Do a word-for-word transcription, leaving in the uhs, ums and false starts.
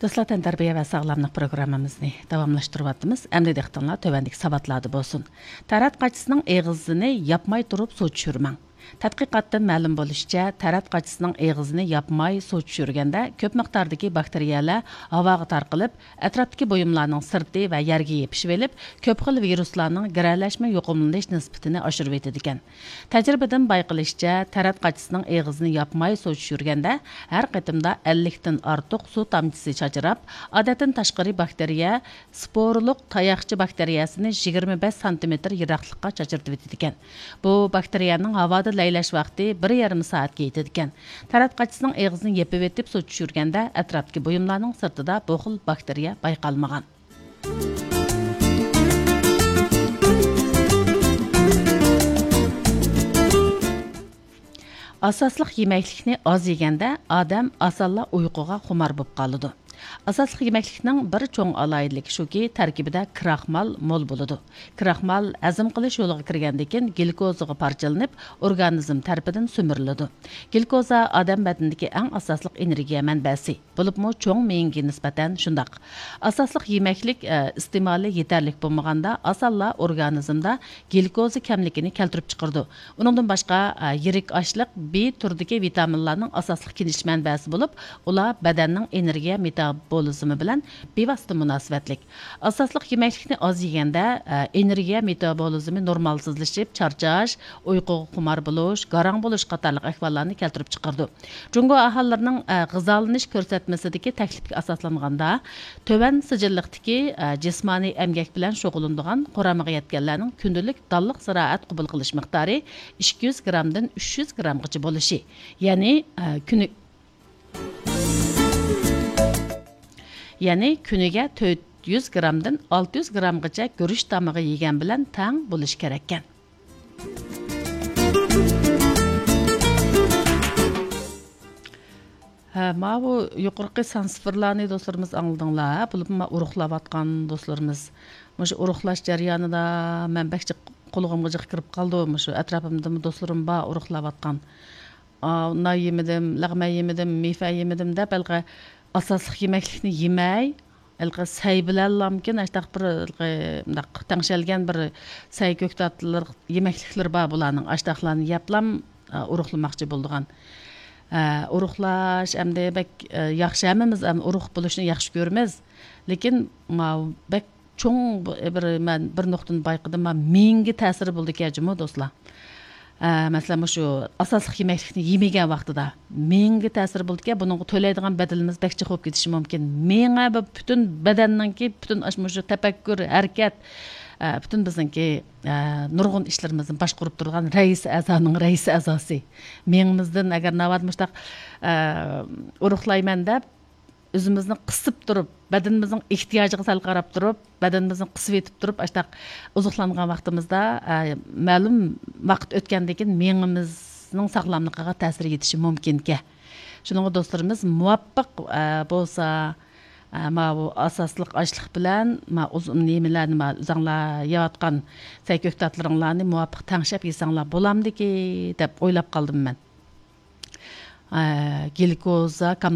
دوستلار، تەنتەربىيە ۋە ساغلاملىق پروگراممىمىزنى داۋاملاشتۇرۇۋاتىمىز. ئەمدى دىققىتىڭلار تۆۋەندىكى ساۋاتلاردا بولسۇن. تەرەت قاچىسىنىڭ ئېغىزىنى ياپماي تۇرۇپ سۇ چۈشۈرمەڭ. تەتقىقاتتىن مەلۇم بولۇشىچە، تەرەت قاچىسىنىڭ ئېغىزىنى ياپماي سۇ چۈشۈرگەندە، كۆپ مىقداردىكى باكتېرىيەلەر ھاۋاغا تارقىلىپ، ئەتراپتىكى بۇيۇملارنىڭ سىرتى ۋە يەرگە يېپىشىۋېلىپ، كۆپ خىل ۋىرۇسلارنىڭ گىرەلەشمە يۇقۇملىنىش نىسبىتىنى ئاشۇرۇۋېتىدىكەن. تەجرىبىدىن بايقىلىشىچە، تەرەت قاچىسىنىڭ ئېغىزىنى ياپماي سۇ چۈشۈرگەندە، ھەر قېتىمدا ئەللىكتىن ئارتۇق سۇ تامچىسى چاچراپ، ئادەتتىن تاشقىرى باكتېرىيە، سپورىلىق تاياقچە باكتېرىيەسىنى يىگىرمە بەش سانتىمېتىر يىراقلىققا چاچرىتىۋېتىدىكەن. بۇ باكتېرىيەنىڭ ھاۋادا لەيلەش ۋاقتى بىر يېرىم سائەتكە يېتىدىكەن. تەرەت قاچىسىنىڭ ئېغىزىنى يېپىۋېتىپ سۇ چۈشۈرگەندە، ئەتراپتىكى بۇيۇملارنىڭ سىرتىدا بۇ خىل باكتېرىيە بايقالمىغان. ئاساسلىق يېمەكلىكنى ئاز يېگەندە، ئادەم ئاسانلا ئۇيقۇغا خۇمار بولۇپ قالىدۇ. ئاساسلىق يېمەكلىكنىڭ بىر چوڭ ئالاھىدىلىكى شۇكى، تەركىبىدە كراخمال مول بولىدۇ. كراخمال ھەزىم قىلىش يولىغا كىرگەندىن كېيىن، گلۇكوزىغا پارچىلىنىپ، ئورگانىزم تەرىپىدىن سۈمۈرۈلىدۇ. گلۇكوزا ئادەم بەدىنىدىكى ئەڭ ئاساسلىق ئېنېرگىيە مەنبەسى. بولۇپمۇ چوڭ مېڭىگە نىسبەتەن شۇنداق. ئاساسلىق يېمەكلىك، ئە، ئىستېمالى يېتەرلىك بولمىغاندا، ئاسانلا ئورگانىزمدا گلۇكوزا كەملىكىنى كەلتۈرۈپ چىقىرىدۇ. ئۇنىڭدىن باشقا، ئە، يىرىك ئاشلىق بى تۈرىدىكى ۋىتامىنلارنىڭ ئاساسلىق كېلىش مەنبەسى بولۇپ، ئۇلار بەدەننىڭ ئېنېرگىيە مېتابولىزمى بىلەن بىۋاسىتە مۇناسىۋەتلىك. ئاساسلىق يېمەكلىكنى ئاز يېگەندە، ئە، ئېنېرگىيە مېتابولىزمى نورمالسىزلىشىپ، چارچاش، ئۇيقۇغا خۇمار بولۇش، گاراڭ بولۇش قاتارلىق ئەھۋاللارنى كەلتۈرۈپ چىقىرىدۇ. جۇڭگو ئاھالىلىرىنىڭ، ئە، غىزالىنىش كۆرسەتمىسىدىكى تەكلىپكە ئاساسلانغاندا، تۆۋەن سىجىللىقتىكى، ئە، جىسمانىي ئەمگەك بىلەن شۇغۇللىنىدىغان قۇرامىغا يەتكەنلەرنىڭ كۈندىلىك دانلىق زىرائەت قوبۇل قىلىش مىقدارى ئىككى يۈز گرامدىن ئۈچ يۈز گرامغىچە بولۇشى، يەنى، ئە، كۈنى-، يەنى كۈنىگە تۆت يۈز گرامدىن ئالتە يۈز گرامغىچە گۈرۈچ تامىقى يېگەن بىلەن تەڭ بولۇشى كېرەككەن. ھە، ماۋۇ يۇقىرىقى سان سىفىرلارنى دوستلىرىمىز ئاڭلىدىڭلار، ھە؟ بولۇپمۇ ما ئورۇقلاۋاتقان دوستلىرىمىز. مۇشۇ ئورۇقلاش جەريانىدا مەن بەك جىق قۇلىقىمغا جىق كىرىپ قالىدۇ. مۇشۇ ئەتراپىمدىمۇ دوستلىرىم بار ئورۇقلاۋاتقان. ئا، نان يېمىدىم، لەغمەن يېمىدىم، مېفە يېمىدىم دەپ، ھېلىقى ئاساسلىق يېمەكلىكنى يېمەي، ھېلىقى سەي بىلەنلامكىن، ئاشتاق بىر، ھېلىقى مۇنداق تەڭشەلگەن بىر سەي كۆكتاتلىق يېمەكلىكلىرى بار بۇلارنىڭ. ئاشتاقلارنى يەپلام، ئا، ئورۇقلىماقچى بولىدىغان. ئە، ئورۇقلاش ئەمدى بەك، ئە، ياخشى، ھەممىمىز ئەم ئورۇق بولۇشنى ياخشى كۆرىمىز. لېكىن ماۋۇ بەك چوڭ بۇ، بىر، مەن بىر نۇقتىنى بايقىدىم، ما مېڭىگە تەسىرى بولىدىكەن جۇمۇ دوستلار. ئە، مەسىلەن، مۇشۇ ئاساسلىق يېمەكلىكنى يېمىگەن ۋاقتىدا مېڭىگە تەسىرى بولىدىكەن، بۇنىڭغا تۆلەيدىغان بەدىلىمىز بەك جىق بولۇپ كېتىشى مۇمكىن. مېڭە بۇ پۈتۈن بەدەننىڭكى پۈتۈن ئاش-، مۇشۇ تەپەككۇر، ھەرىكەت، ئە، پۈتۈن بىزنىڭكى، ئە، نۇرغۇن ئىشلىرىمىزنى باشقۇرۇپ تۇرىدىغان رەئىس ئەزانىڭ رەئىس ئەزاسى. مېڭىمىزدىن ئەگەر ناۋادا مۇشتاق، ئە، ئورۇقلايمەن دەپ، ئۆزىمىزنى قىسىپ تۇرۇپ، بەدىنىمىزنىڭ ئېھتىياجىغا سەل قاراپ تۇرۇپ، بەدىنىمىزنى قىسىۋېتىپ تۇرۇپ، ئاشتاق ئوزۇقلانغان ۋاقتىمىزدا، ئە، مەلۇم ۋاقىت ئۆتكەندىن كېيىن مېڭىمىزنىڭ ساغلاملىقىغا تەسىر يېتىشى مۇمكىنكەن. شۇنىڭغا دوستلىرىمىز مۇۋاپىق، ئە، بولسا، ئە، ماۋۇ ئاساسلىق ئاشلىق بىلەن، ما ئۇزۇن نېمىلەرنى، ما ئۆزەڭلار يەۋاتقان سەي كۆكتاتلىرىڭلارنى مۇۋاپىق تەڭشەپ يېسەڭلار بولامدىكى دەپ ئويلاپ قالدىم مەن. ئە، گلۇكوزا